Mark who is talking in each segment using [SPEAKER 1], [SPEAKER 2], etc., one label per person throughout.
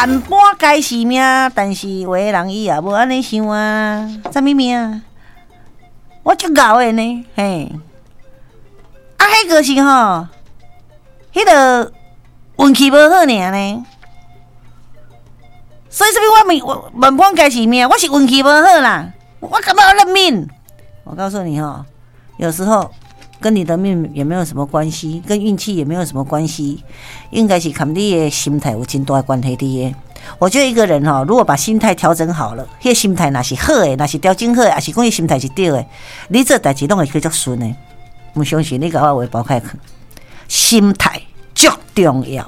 [SPEAKER 1] 萬般皆是命，但是有的人伊也無按呢想啊，啥物命？我足𠢕的呢，嘿，啊，彼個是吼，彼個運氣無好爾呢。所以啥物我命我萬般皆是命，我是運氣無好啦，我幹嘛要認命？我告訴你吼，有時候跟你的命也沒有什麼關係，跟運氣也沒有什麼關係，應該是佮你的心態有真大的關係佇的。我覺得一個人吼，如果把心態調整好了，彼個心態若是好的，若是調整好的，抑是講伊心態是對的，你做代誌攏會去足順的。毋相信你共我話包開去，心態足重要。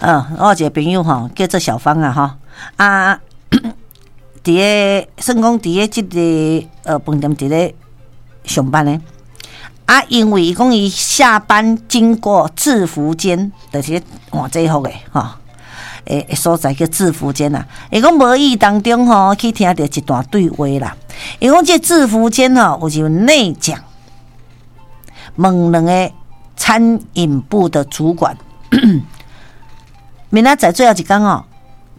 [SPEAKER 1] 我有一個朋友吼，叫做小芳啊，吼啊。佇咧算講佇咧這个飯店佇咧上班的，啊，因為伊講伊下班經過制服間，就是換制服的吼，的所在叫制服間啦。伊講無意當中吼去聽著一段對話啦。伊講這制服間吼有一個內講，問兩个餐飲部的主管，明仔載最後一工吼，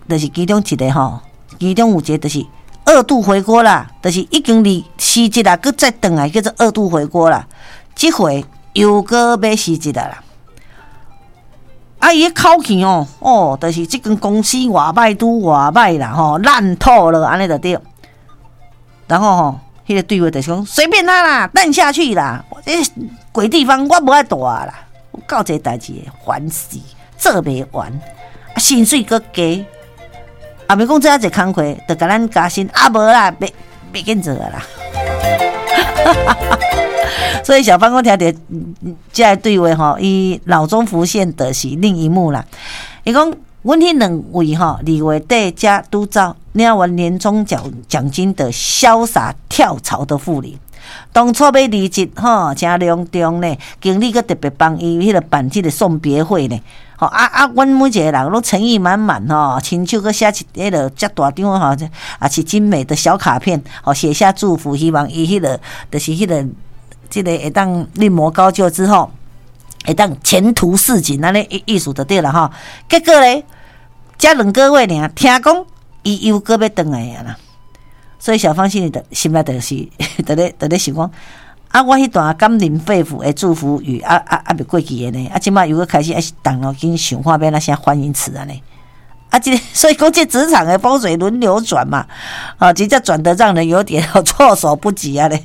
[SPEAKER 1] 就是其中一个吼。其中有一個就是二度回鍋啦，就是已經離辭職啦，閣再轉來叫做二度回鍋啦。這回又閣欲辭職啦。啊，伊的口氣哦，哦，就是這間公司偌歹拄偌歹啦，吼，爛透了，按呢就對。然後吼，彼個對話就是講隨便他啦，爛下去啦，這鬼地方我無愛蹛啦，有夠濟代誌，煩死，做袂完，啊，薪水閣低。啊，袂講做遐濟工課，就共咱加薪啊，無啦，袂袂緊做啦。所以小芳講聽著這个對話吼，伊腦中浮現的是另一幕啦。伊講，阮彼兩位吼，2月底才拄走領完年終獎金的瀟灑跳槽的副理，當初欲離職吼，誠隆重呢，經理閣特別幫伊彼个辦這个送別會呢。吼啊啊！阮每一個人攏誠意滿滿吼，親手閣寫一彼个遮大張吼，也是精美的小卡片，吼寫下祝福，希望伊彼個就是彼個這个會當另謀高就之後，會當前途似錦，按呢意思就對啦吼。結果咧，才2個月爾，聽講伊又閣欲轉來啊啦。所以小芳心裡的心內就是佇咧想講。啊！我彼段感人肺腑的祝福語，啊啊啊，未過去的呢。啊，這擺又閣開始愛動腦筋想看欲按怎寫歡迎詞按呢。啊，這個所以講這職場的風水輪流轉嘛，啊，真正轉得讓人有點措手不及啊咧。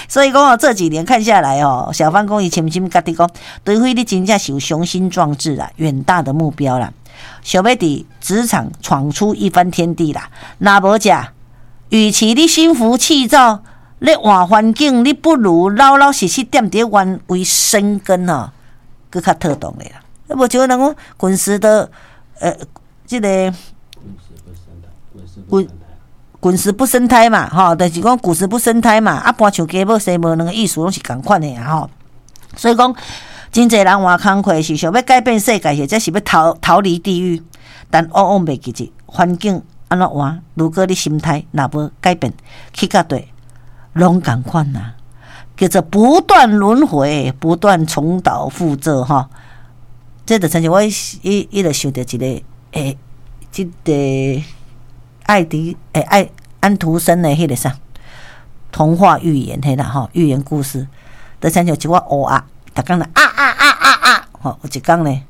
[SPEAKER 1] 所以講哦，這幾年看下來哦，小芳講伊深深覺得講，除非你真正是有雄心壯志啦，遠大的目標啦，想欲佇職場闖出一番天地啦，若無者，與其你心浮氣躁，咧換環境，你不如老老實實踮佇原位生根吼，閣較妥當的啦。啊，無像人講滾石的，這个滾石不生苔嘛，吼，就是講古石不生苔嘛。啊，搬樹雞母生無卵的意思攏是仝款的啊，吼。所以講，真濟人換工課是想欲改變世界，或者是欲逃離地獄，但往往袂記得環境按怎換。如果你心態若無改變，去到底攏仝款啊，叫做不斷輪迴，不斷重蹈覆轍吼。這就親像我伊就想著一个這个愛迪愛安徒生的彼个啥童話寓言彼啦吼，寓言故事，就親像一寡烏鴉，逐工咧啊啊啊啊啊，吼，有一工呢，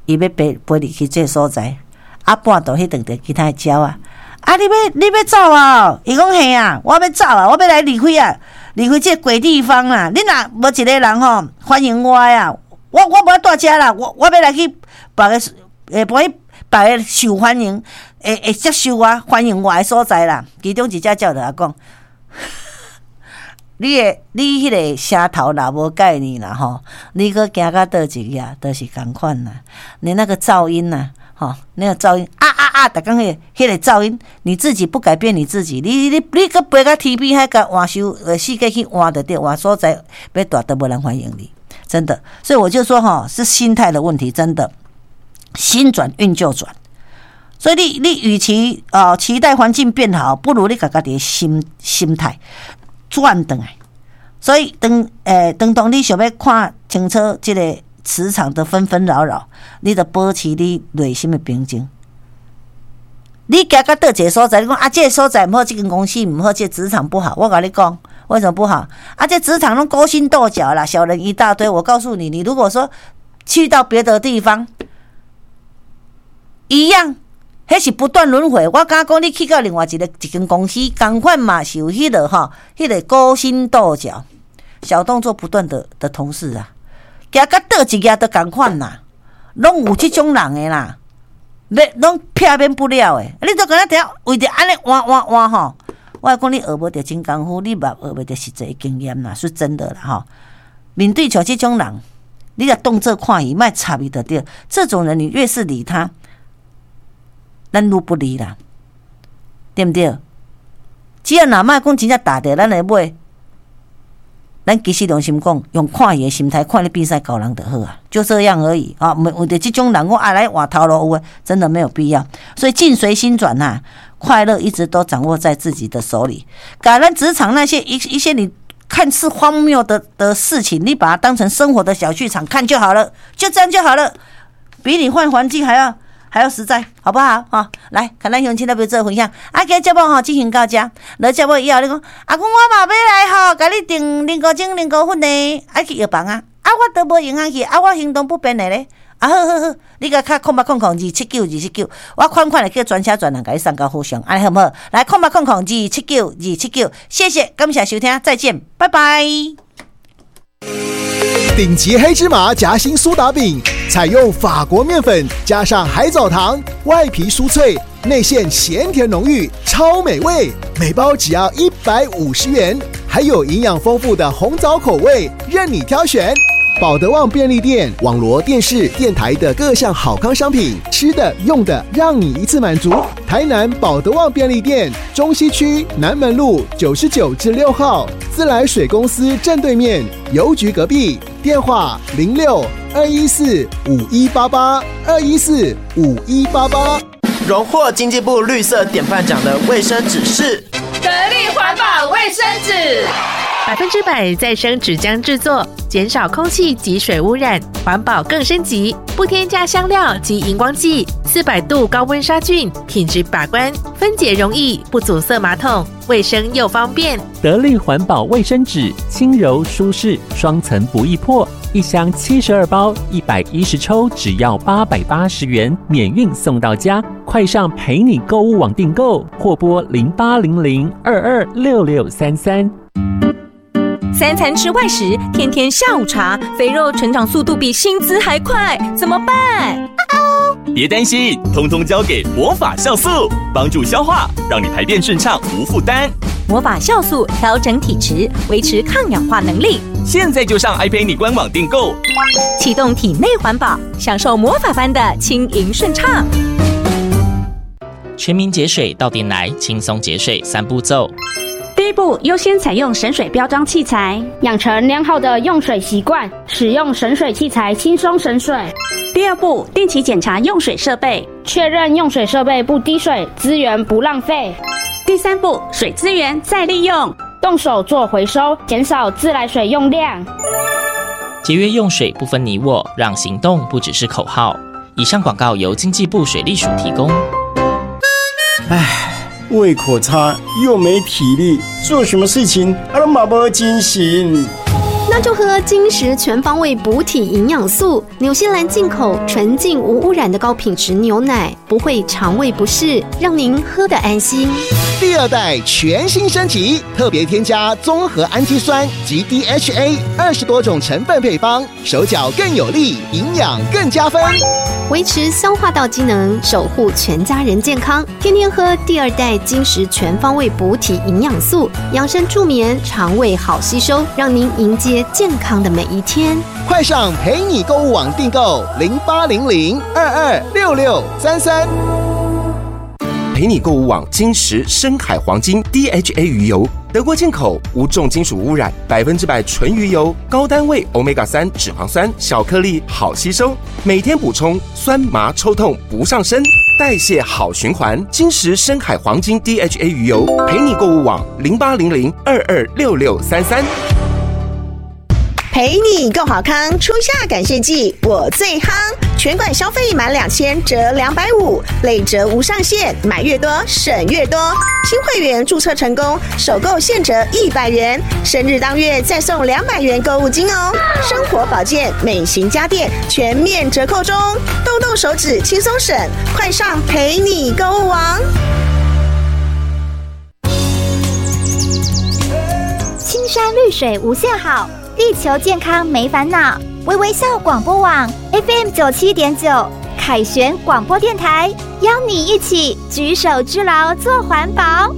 [SPEAKER 1] 伊欲飛飛離去這个所在，啊，半途彼碰著其他的鳥仔。啊！你欲走啊？伊講嘿啊，我欲走啊，我欲來離開啊，離開這个鬼地方啦！你若無一个人吼歡迎我啊，我無愛蹛遮啦，我欲來去別个，會去別个受歡迎，會接受我歡迎我的所在啦。其中一隻鳥就共講，你彼个聲頭若無改呢啦吼，你閣行到佗一去啊，都是仝款啦。你那個噪音呐。吼，那個噪音啊啊啊！逐工彼个噪音，你自己不改變你自己，你閣飛到天邊海角換收世界去換就對，換所在欲蹛都無人歡迎你，真的。所以我就說吼，是心態的問題，真的，心轉運就轉。所以你與其期待環境變好，不如你共家己的心態轉轉來。所以當當你想欲看清楚這个。磁場的紛紛擾擾，你著保持你內心的平靜。你行到佗一个所在，你講啊，這个所在毋好，這間公司毋好，這个職場不好。我共你講，為什麼不好？啊，這職場攏勾心鬥角啦，小人一大堆。我告訴你，你如果說去到別的地方，一樣，彼是不斷輪迴。我敢講，你去到另外一個一間公司，仝款嘛是有彼个吼，彼个勾心鬥角、小動作不斷的同事啊，行到佗一頁都仝款啦，攏有這種人的啦。欲攏避免不了的，你都敢若佇遐為著按呢換換換吼，我講你學無著真功夫，你嘛學袂著實際經驗啦，是真的啦吼。面對像這種人，你若當做看伊，莫插伊就對。這種人，你越是理他，咱愈不利啦，對毋對？只要若莫講真正踏著咱的尾，咱其實良心講，用看伊的心態看你變使猴人就好啊，就這樣而已啊。毋為著這種人，我愛來換頭路有的，真的沒有必要。所以境隨心轉吶，快樂一直都掌握在自己的手裡。共咱職場那些一些你看似荒謬的事情，你把它當成生活的小劇場看就好了，就這樣就好了，比你換環境還要實在，好不好？哈，來，看咱鄉親來做分享。啊，今節目吼進行到這，落節目以後你講，阿公我嘛欲來吼，共你訂靈菇精、靈菇粉呢，愛去藥房啊。啊，我都無閒去，啊，我行動不便的咧。啊，好好好，你共敲0800279279，我款款會叫專車專人共你送到府上，按呢好毋好？來，0800279279，謝謝，感謝收聽，再見，拜拜。
[SPEAKER 2] 頂級黑芝麻夾心蘇打餅，採用法國麵粉加上海藻糖，外皮酥脆，內餡鹹甜濃郁，超美味。每包只要150元，還有營養豐富的紅棗口味，任你挑選。寶德旺便利店、網羅電視、電台的各項好康商品，吃的、用的，讓你一次滿足。台南寶德旺便利店，中西區南門路99之6號，自來水公司正對面，郵局隔壁。電話06-214-5188，214-5188。
[SPEAKER 3] 榮獲經濟部綠色典範獎的衛生紙是
[SPEAKER 4] 得力環保衛生紙。
[SPEAKER 5] 100%再生紙漿製作，減少空氣及水污染，環保更升級。不添加香料及熒光劑，400度高溫殺菌，品質把關，分解容易，不阻塞馬桶，衛生又方便。
[SPEAKER 6] 得力環保衛生紙，輕柔舒適，雙層不易破，一箱72包，110抽，只要880元，免運送到家。快上陪你購物網訂購，或撥0800-226633。
[SPEAKER 7] 三餐吃外食，天天下午茶，肥肉成長速度比薪資還快，怎麼辦？
[SPEAKER 8] 別擔心，通通交給魔法酵素，幫助消化，讓你排便順暢無負擔。
[SPEAKER 7] 魔法酵素調整體質，維持抗氧化能力。
[SPEAKER 8] 現在就上 iPay 你官網訂購，
[SPEAKER 7] 啟動體內環保，享受魔法般的輕盈順暢。
[SPEAKER 9] 全民節水到店來，輕鬆節水三步驟。
[SPEAKER 10] 第一步，優先採用省水標章器材，
[SPEAKER 11] 養成良好的用水習慣，使用省水器材輕鬆省水。
[SPEAKER 10] 第二步，定期檢查用水設備，
[SPEAKER 11] 確認用水設備不滴水，資源不浪費。
[SPEAKER 10] 第三步，水資源再利用，
[SPEAKER 11] 動手做回收，減少自來水用量。
[SPEAKER 9] 節約用水不分你我，讓行動不只是口號。以上廣告由經濟部水利署提供。
[SPEAKER 12] 唉，胃口差又沒體力，做什麼事情啊攏嘛無精神。
[SPEAKER 13] 那就喝金石全方位補體營養素，紐西蘭進口純淨無污染的高品質牛奶，不會腸胃不適，讓您喝得安心。
[SPEAKER 2] 第二代全新升級，特別添加綜合氨基酸及 DHA 20多種成分配方，手腳更有力，營養更加分，
[SPEAKER 13] 維持消化道機能，守護全家人健康。天天喝第二代金石全方位補體營養素，養生助眠，腸胃好吸收，讓您迎接健康的每一天。
[SPEAKER 2] 快上陪你購物網訂購0800-226633。
[SPEAKER 14] 陪你購物網金石深海黃金 DHA 魚油，德國進口，無重金屬污染，100%純魚油，高單位 Omega 3脂肪酸，小顆粒好吸收，每天補充酸麻抽痛不上身，代謝好循環。金石深海黃金 DHA 魚油，陪你購物網0800-226633。
[SPEAKER 15] 陪陪你共好康，初夏感谢季，我最夯！全馆消费满2000折250，累折无上限，买越多省越多。新会员注册成功，首购现折100元，生日当月再送200元购物金哦。生活保健、美型家电全面折扣中，动动手指轻松省，快上陪你购物网！
[SPEAKER 16] 青山绿水无限好。地球健康没烦恼，微微笑广播网 FM 97.9，凯旋广播电台，邀你一起举手之劳做环保。